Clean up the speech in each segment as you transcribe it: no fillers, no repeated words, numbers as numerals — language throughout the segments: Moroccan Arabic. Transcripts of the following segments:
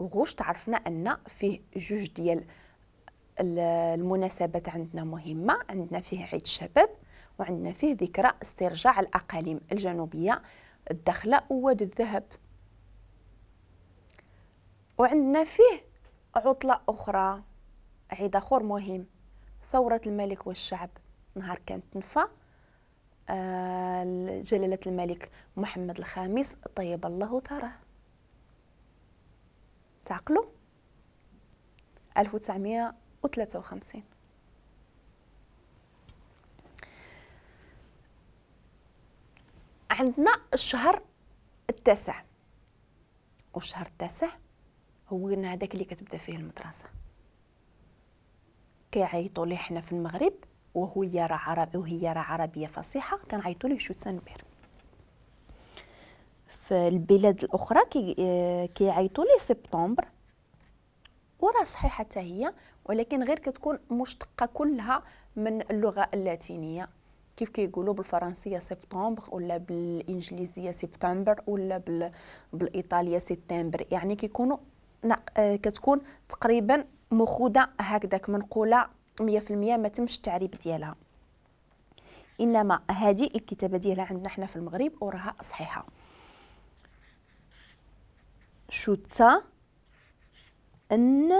غشت عرفنا أن فيه جوج ديال المناسبات عندنا مهمة، عندنا فيه عيد الشباب وعندنا فيه ذكرى استرجاع الأقاليم الجنوبية الداخلة ووادي الذهب، وعندنا فيه عطلة أخرى، عيد آخر مهم، ثورة الملك والشعب، نهار كانت تنفى جلالة الملك محمد الخامس طيب الله ثراه. تعقلوا 1953. عندنا الشهر التاسع، والشهر التاسع هو هذاك اللي كتبدا فيه المدرسة، كيعيطوا ليه حنا في المغرب وهو يرى عربي وهي راه عربية فصيحة، كنعيطوا ليه شتنبر. في البلاد الأخرى كيعيطوا ليه سبتمبر، وراه صحيحة حتى هي، ولكن غير كتكون مشتقة كلها من اللغة اللاتينية، كيف كيقولوا بالفرنسية سبتمبر ولا بالإنجليزية سبتمبر ولا بالإيطالية سبتمبر، يعني كيكونوا كتكون تقريبا مخوذة هكذاك منقولة 100%، ما تمش التعريب ديالها، إنما هذه الكتابة ديالها عندنا حنا في المغرب وراها صحيحة. شتا ان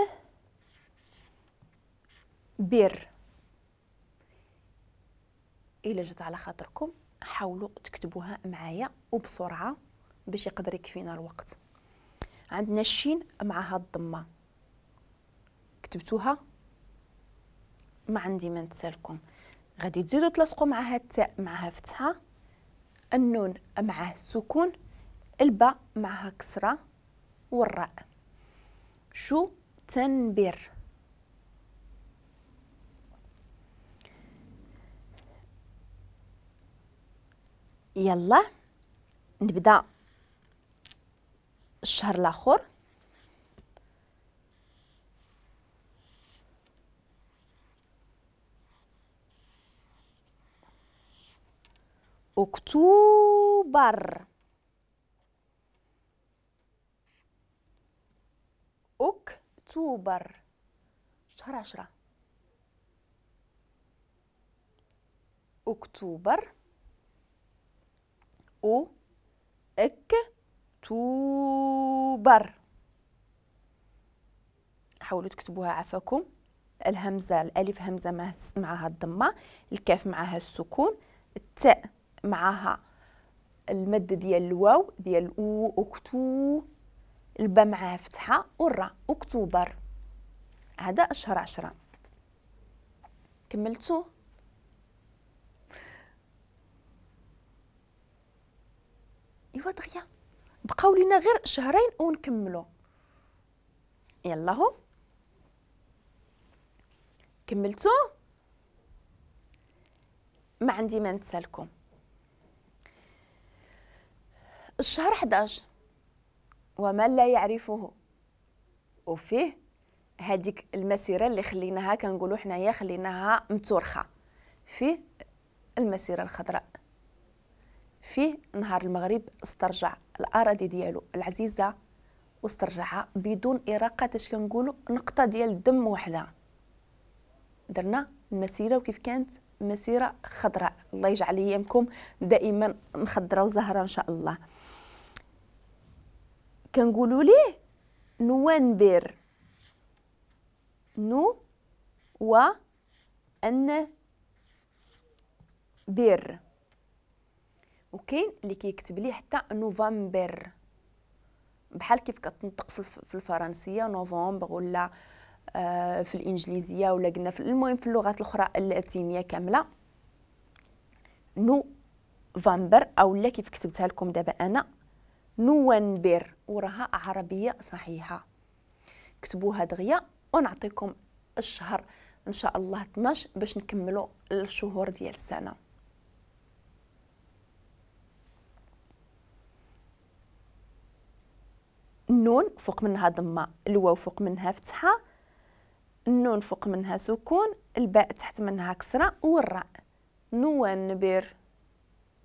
بير. إلا جات على خاطركم حاولوا تكتبوها معايا وبسرعة باش يقدر يكفينا الوقت. عندنا الشين معها الضمة، كتبتوها؟ ما عندي ما نتسالكم. غادي تزيدوا تلصقوا معها التاء معها فتحة، النون معها السكون، الباء معها كسرة، والراء. شو تنبر. يلا نبدا الشهر الاخر. اكتوبر، اكتوبر، شهر 10. اكتوبر، او اكتوبر. حاولوا تكتبوها عفاكم. الهمزة، الالف همزة معها الضمة، الكاف معها السكون، التاء معها المد ديال الواو ديال او اكتو، الباء معها فتحة، والراء. اكتوبر. هذا الشهر 10. كملتو؟ ايوا دغيا بقاو لينا غير شهرين ونكملو. يلا هو كملتو؟ ما عندي ما نتسالكم. الشهر 11 ومن لا يعرفه، وفيه هذيك المسيرة اللي خليناها كنقولوا حنايا خليناها متورخه، فيه المسيرة الخضراء، فيه نهار المغرب استرجع الاراضي ديالو العزيزة واسترجعها بدون اراقة، اش كنقولوا نقطة ديال الدم وحده. درنا المسيرة وكيف كانت مسيره خضراء، الله يجعل ايامكم دائما مخضره وزهرة ان شاء الله. كنقولوا ليه نوفمبر، نو و ان بير، وكاين اللي كيكتب ليه حتى نوفمبر، بحال كيف كتنطق في الفرنسية نوفمبر، ولا في الانجليزية، ولا قلنا في المهم في اللغات الاخرى اللاتينية كاملة نوفمبر، او لا كيف كتبتها لكم دابا انا نوفمبر، وراها عربية صحيحه. كتبوها دغيا ونعطيكم الشهر ان شاء الله 12 باش نكملوا الشهور ديال السنة. النون فوق منها ضمه، الواو فوق منها فتحه، النون فوق منها سكون، الباء تحت منها كسره، والراء. نوفمبر.